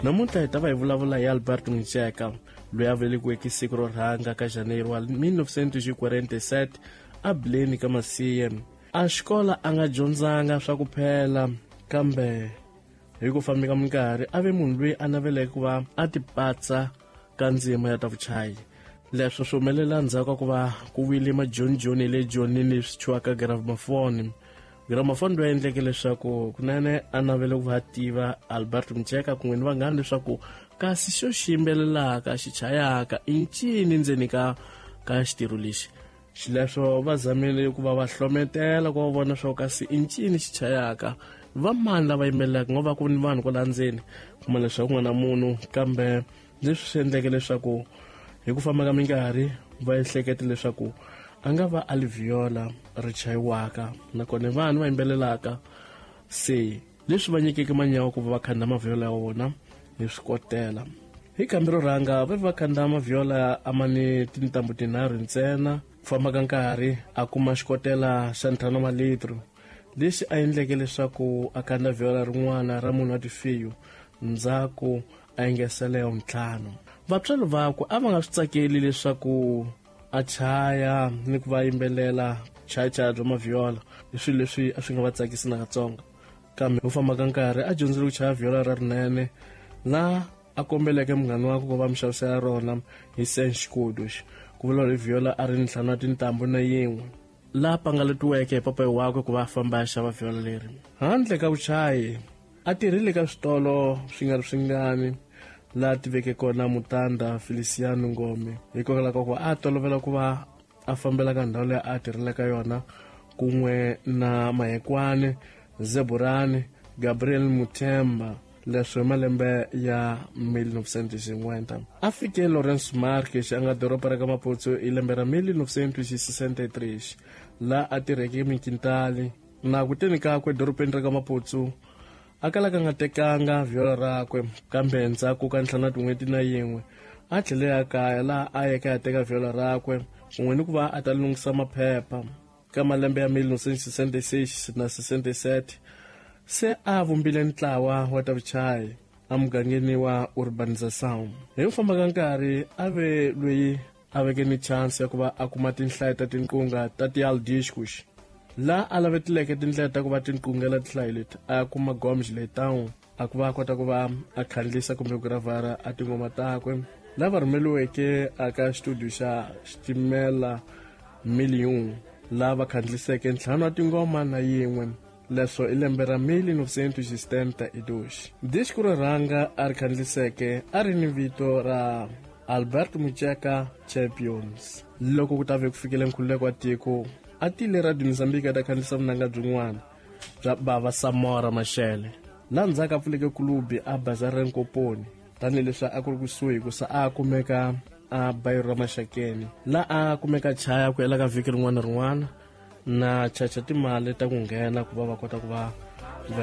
Namuntlha hi ta va hi vulavula hi Alberto Mutsheka, loyi a velekiweke siku ro rhanga ka Janeiro wa 1947 a Bileni ka Masiye. A xikola a nga dyondzanga swa ku phela, kambe hi ku famba ka minkarhi a ve munhu loyi a naveleke ku va a tipatsa ka ndzima ya ta vuchayi. Leswo swi humelela ndzhaku ka ku va ku wile majonijoni le Joni leswi thyiwaka gramafoni. Gramafoni loyi endleke leswaku kunene a navele ku va tiva Alberto Mutsheka kun'we ni vanghana leswaku kasi xo xi yimbelelaka xi chayaka i ncini ndzeni ka xitirho lexi. Xileswo va zamile ku va va hlometela ku va vona swa kasi i ncini xi chayaka, va mani lava yimbelelaka, ngo va ku ni vanhu kwala ndzeni, kuma leswaku ku nga na munhu. Kambe leswi swi endleke leswaku hi ku famba ka minkarhi va ehlekete leswaku a nga va a li viola ri chayiwaka nakona vanhu va yimbelelaka. Se leswi va nyikeke manyawa ku va va khanda maviola ya vona hi swikotela. Hi kambi ro rhanga va va khanda maviola a ma ni tintambu tinharhu ntsena. Ku famba ka nkarhi a kuma xikotela xa 5 wa litro, lexi a endleke leswaku a khanda viola rin'wana ra munhu wa tifiyo, ndzhaku a engesela ya ntlhanu. Vatswari vakwe a va nga swi tsakeli leswaku a chaya ni ku va yimbelela chayachaya bya maviola, i swilo leswi a swi nga va tsakisi nakatsongo. Kambe hi ku famba ka nkarhi a dyondzile ku chaya viola ra rinene, laha a kombeleke munghana wakwe ku va mi xavisela rona hi senxikodo. Ku vula hi viola a ri ntlhanu wa tintambu na yin'we, laha pangaletiweke hi papayi wakwe ku va a famba a xava viola leri. Handle ka vuchayi a tirhile ka switolo swi nga ri swingani, laha tiveke kona Mutanda Feliciano Ngome, hikokwalaho ka ku a tolovela ku va a fambela ka ndhawu leyi a tirhela ka yona kun'we na Mahekwane, Zeburani, Gabriel Muthemba. Leswo hi malembe ya 1950 a fike Lawrence Marques a nga doroba ra ka Maputo hi lembe ra 1963, laha a tirheke minkintali. Na ku teni kakwe dorobeni ra ka Maputo a kala ka nga tekanga viola rakwe, kambe ndzhaku ka ntlhanu wa tin'hweti na yin'we a tlhele ya kaya, laha a yeke a teka viola rakwe kun'we ni ku va a ta lunghisa maphepha. Ka malembe ya 1966 na 67 se a vumbile ntlawa wa ta vuchayi emugangeni wa Urbanização. Hi ku famba ka nkarhi a ve loyi a veke ni chance ya ku va a kuma tinhlayo ta tinqunga ta tialdiscos, laha a lavetileke tindlela ta ku va tinqungela tinhlayo leti, a kuma Gomes Leitão a ku va a kota ku va a khandlisa kumbe ku gravara a tinghoma takwe, lava rhumeliweke aka xitudio xa Xitimela Million, laha va khandliseke ntlhanu wa tingoma na yin'we. Leswo i lembe ra 1972. Disco ro rhanga a ri khandliseke a ri ni vito ra Alberto Mutsheka Champions. Loko ku ta ve ku fikile nkhululeko wa tiko, a tile Radio Mozambique a ta khandlisa vunanga byin'wana bya Bava Samora Machel, laha ndzhaku a pfuleke kulubi a bazari ra Nkoponi, tanihileswi a ku ri kusuhi hikusa a kumeka a bayiro ra Maxakeni, laha a kumeka chaya ku hela ka vhiki rin'wana na rin'wana na chacha timali ta ku nghena ku va va kota ku va va ya.